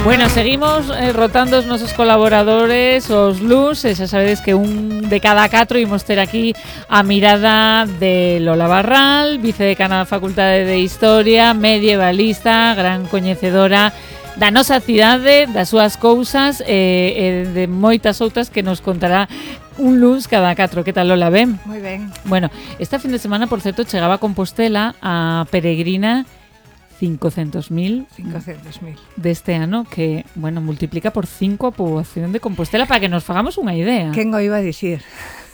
Bueno, seguimos rotando os nosos colaboradores, os LUS, e xa sabedes que un de cada 4 imos ter aquí a mirada de Lola Barral, vicedecana da Facultade de Historia, medievalista, gran coñecedora da nosa cidade, das súas cousas e de moitas outras que nos contará un LUS cada 4. Que tal, Lola? Ben? Moi ben. Bueno, esta fin de semana, por certo, chegaba a Compostela a peregrina 500.000 deste ano, que, bueno, multiplica por 5 a poboación de Compostela, para que nos fagamos unha idea. Quen o iba a dicir?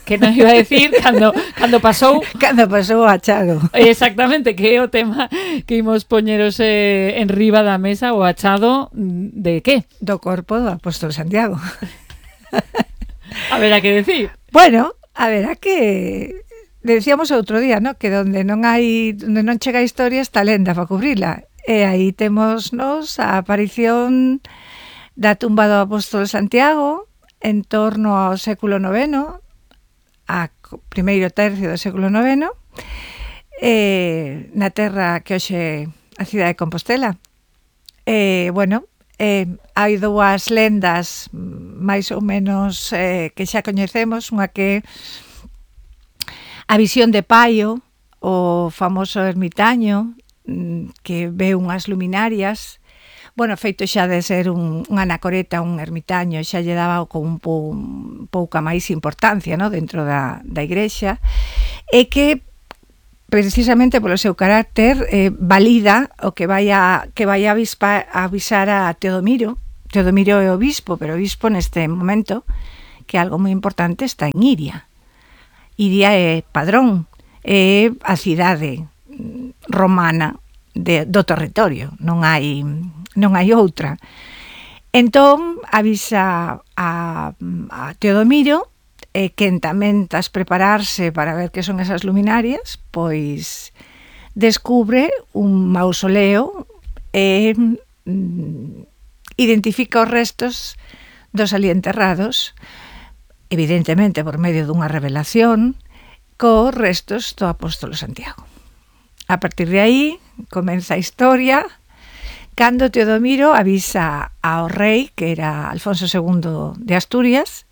Que nos iba a decir cando pasou Cando pasou o achado. Exactamente, que é o tema que imos poñeros en riba da mesa, o achado de que? Do corpo do apóstolo Santiago. A ver, a que decir? Bueno, a ver, a que decíamos outro día, ¿no? Que onde non chega a historia está lenda para cubrila. E aí temos nos a aparición da tumba do apóstolo Santiago en torno ao século IX, a primeiro tercio do século IX, na terra que hoxe a cidade de Compostela. Bueno, hai dúas lendas máis ou menos que xa coñecemos, unha que a visión de Paio, o famoso ermitaño, que ve unhas luminarias. Bueno, feito xa de ser un anacoreta, un ermitaño, xa lle daba con pouca máis importancia, ¿no?, dentro da igrexa, e que precisamente polo seu carácter valida o que vai a avisar a Teodomiro. Teodomiro é o obispo, pero o obispo neste momento, que algo moi importante, está en Iria. Iria é padrón, é a cidade romana do territorio, non hai outra. Entón, avisa a Teodomiro, quen tamén tas prepararse para ver que son esas luminarias, pois descubre un mausoleo e identifica os restos dos ali enterrados, evidentemente por medio dunha revelación, cos restos do apóstolo Santiago. A partir de aí comeza a historia, cando Teodomiro avisa ao rei, que era Alfonso II de Asturias,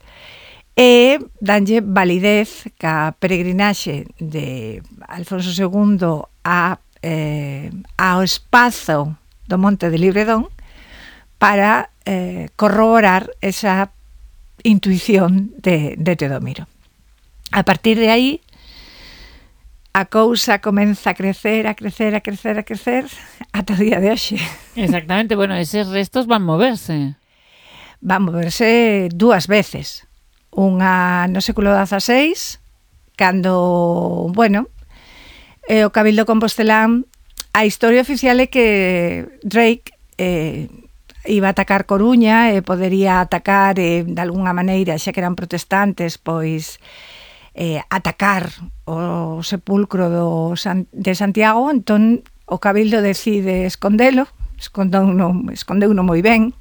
e danlle validez ca peregrinaxe de Alfonso II ao espazo do Monte de Libredón para corroborar esa intuición de Teodomiro. A partir de aí, a cousa comeza a crecer ata o día de hoxe. Exactamente, bueno, eses restos van moverse. Van moverse dúas veces. Unha no século XVI, cando, bueno, o Cabildo Compostelán, a historia oficial é que Drake iba a atacar Coruña e podería atacar de alguna maneira, xa que eran protestantes, pois atacar o sepulcro de Santiago. Entón o Cabildo decide escondeuno moi ben,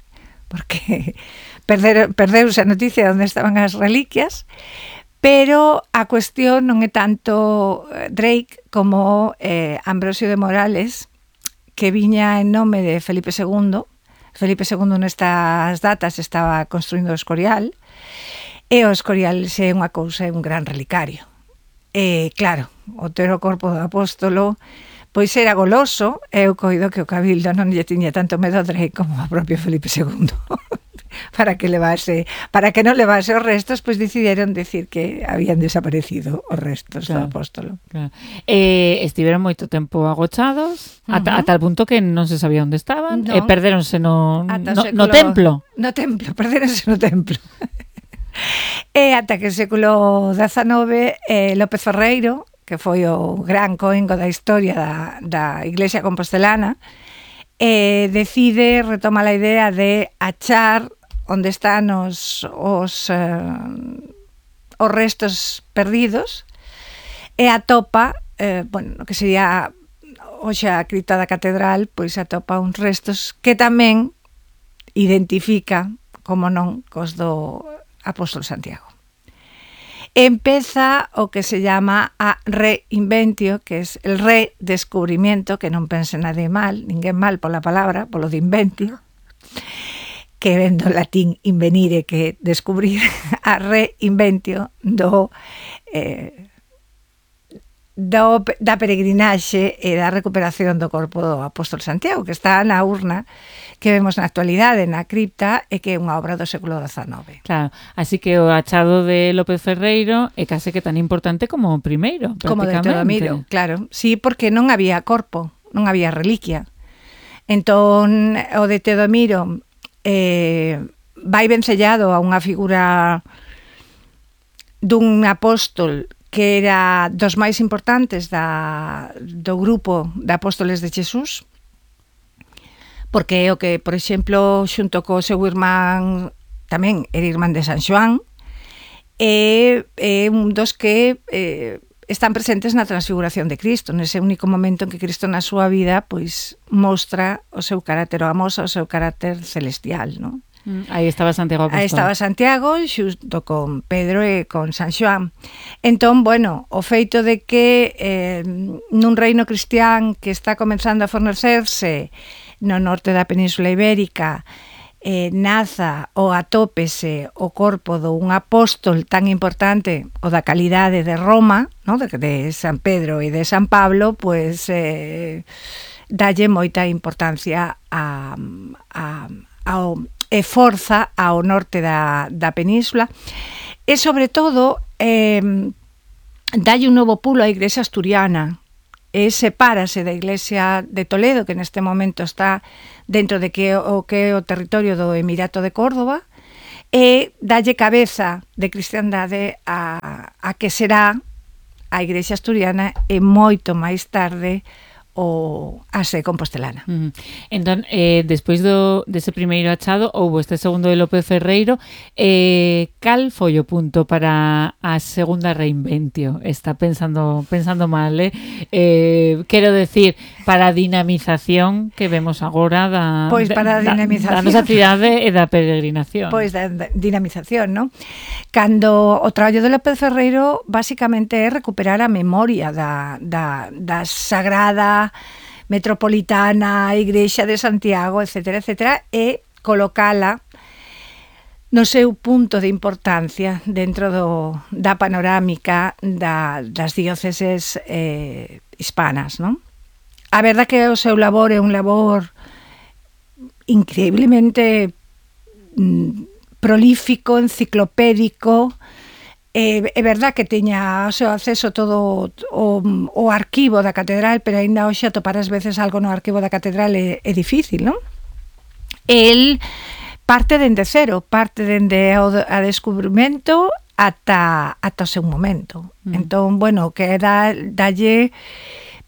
porque perdeuse a noticia de onde estaban as reliquias, pero a cuestión non é tanto Drake como Ambrosio de Morales, que viña en nome de Felipe II. Felipe II nestas datas estaba construindo o Escorial, e o Escorial é unha cousa, é un gran relicario. E claro, o ter o corpo do apóstolo pois era goloso, e eu coido que o Cabildo non lle tiña tanto medo a Drake como a propio Felipe II. para que non levase os restos, pois decidiron decir que habían desaparecido os restos do apóstolo. Claro. Estiveron moito tempo agochados, ata el punto que non se sabía onde estaban, e perdéronse no templo. No templo, perdéronse no templo. E ata que o século XIX, López Ferreiro, que foi o gran coengo da historia da Iglesia compostelana, decide, retoma a idea de achar onde están os restos perdidos, e atopa, bueno, que sería hoxe a cripta da catedral, pois atopa uns restos que tamén identifica, como non, cos do apóstolo Santiago. Empeza o que se llama a reinventio, que es el redescubrimiento, que non pense nadie mal, ninguén mal pola palabra, polo de inventio, que vendo latín invenire, que descubrir a reinventio da peregrinaxe e da recuperación do corpo do apóstolo Santiago, que está na urna que vemos na actualidade na cripta e que é unha obra do século XIX. Claro, así que o achado de López Ferreiro é case que tan importante como o primeiro, como de Teodomiro, claro. Sí, porque non había corpo, non había reliquia. Entón, o de Teodomiro vai vencellado a unha figura dun apóstol que era dos máis importantes do grupo de apóstoles de Jesús, porque é o que, por exemplo, xunto co seu irmán, tamén era irmán de San Xoán, é un dos que están presentes na transfiguración de Cristo, nese único momento en que Cristo na súa vida pois mostra o seu carácter, ou amosa o seu carácter celestial, non? Aí estaba Santiago Apóstol. Aí estaba Santiago xunto con Pedro e con San Xoán. Entón, bueno, o feito de que nun reino cristián que está comenzando a fornecerse no norte da Península Ibérica, naza ou atópese o corpo dun apóstol tan importante o da calidade de Roma, no? de San Pedro e de San Pablo, pois dalle moita importancia ao e forza ao norte da península e, sobre todo, dalle un novo pulo á Iglesia asturiana e sepárase da Iglesia de Toledo, que neste momento está dentro de que o territorio do Emirato de Córdoba, e dalle cabeza de cristiandade a que será a Iglesia asturiana e moito máis tarde o ase compostelana. Entón, despois dese primeiro achado, houbo este segundo de López Ferreiro, cal foi o punto para a segunda reinventio? Está pensando mal, quero decir, para a dinamización que vemos agora da nosa cidade e da peregrinación. Pois da dinamización, non? Cando o traballo de López Ferreiro basicamente é recuperar a memoria da sagrada metropolitana, Igrexa de Santiago, etcétera, etcétera, e colocala no seu punto de importancia dentro da panorámica das dióceses hispanas, non? A verdad que o seu labor é un labor increíblemente prolífico, enciclopédico. É verdad que teña o seu acceso todo o arquivo da catedral, pero aínda hoxe atopar ás veces algo no arquivo da catedral é difícil, non? El parte dende cero, parte dende a descubrimento ata o seu momento. Entón, bueno, que dalle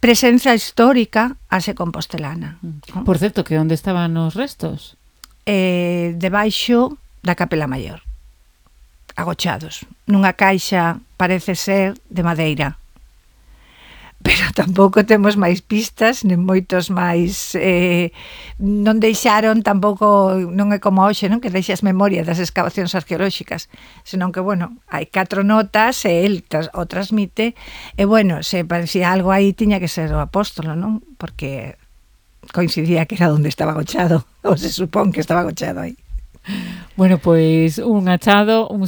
presenza histórica a se compostelana. Por certo, que onde estaban os restos? Debaixo da Capela Maior, agochados, nunha caixa, parece ser, de madeira. Pero tampouco temos máis pistas, nen moitos máis, non deixaron tampouco, non é como hoxe, non, que deixas memoria das excavacións arqueolóxicas, senón que, bueno, hai 4 notas e el o transmite, e, bueno, se parecía algo aí, tiña que ser o apóstolo, non? Porque coincidía que era onde estaba agochado, ou se supón que estaba agochado aí. Bueno, pois un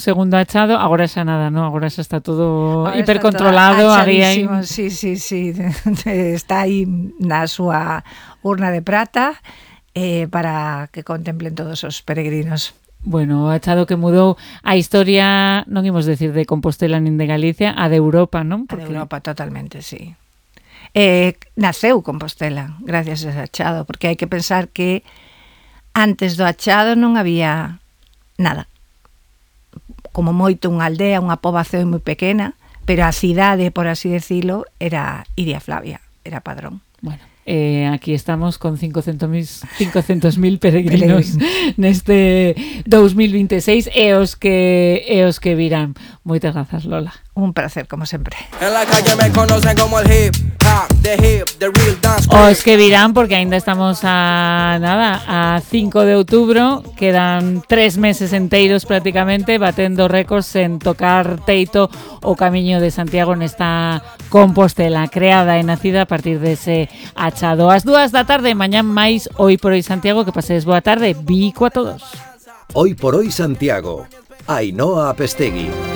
segundo achado, agora xa nada, non? Agora xa está todo hipercontrolado, achadísimo, sí, está aí na súa urna de prata para que contemplen todos os peregrinos. Bueno, o achado que mudou a historia, non imos decir de Compostela nin de Galicia, a de Europa, non? Porque... A de Europa, totalmente, sí. Naceu Compostela gracias a ese achado, porque hai que pensar que antes do achado non había nada. Como moito unha aldea, unha poboación moi pequena, pero a cidade, por así decirlo, era Iria Flavia, era Padrón. Bueno, aquí estamos con 500.000 peregrinos neste 2026 e os que virán. Moitas grazas, Lola. Un placer, como sempre. En la calle me conocen como el hip hop, the real dance. Os que virán, porque ainda estamos a 5 de outubro, quedan 3 meses enteiros prácticamente batendo récords en tocar teito o Camiño de Santiago nesta Compostela creada e nacida a partir dese achado. Ás 2 da tarde, mañán máis Hoy por Hoy Santiago, que pasedes boa tarde. Bico a todos. Hoy por hoy Santiago. Ainhoa Apestegui.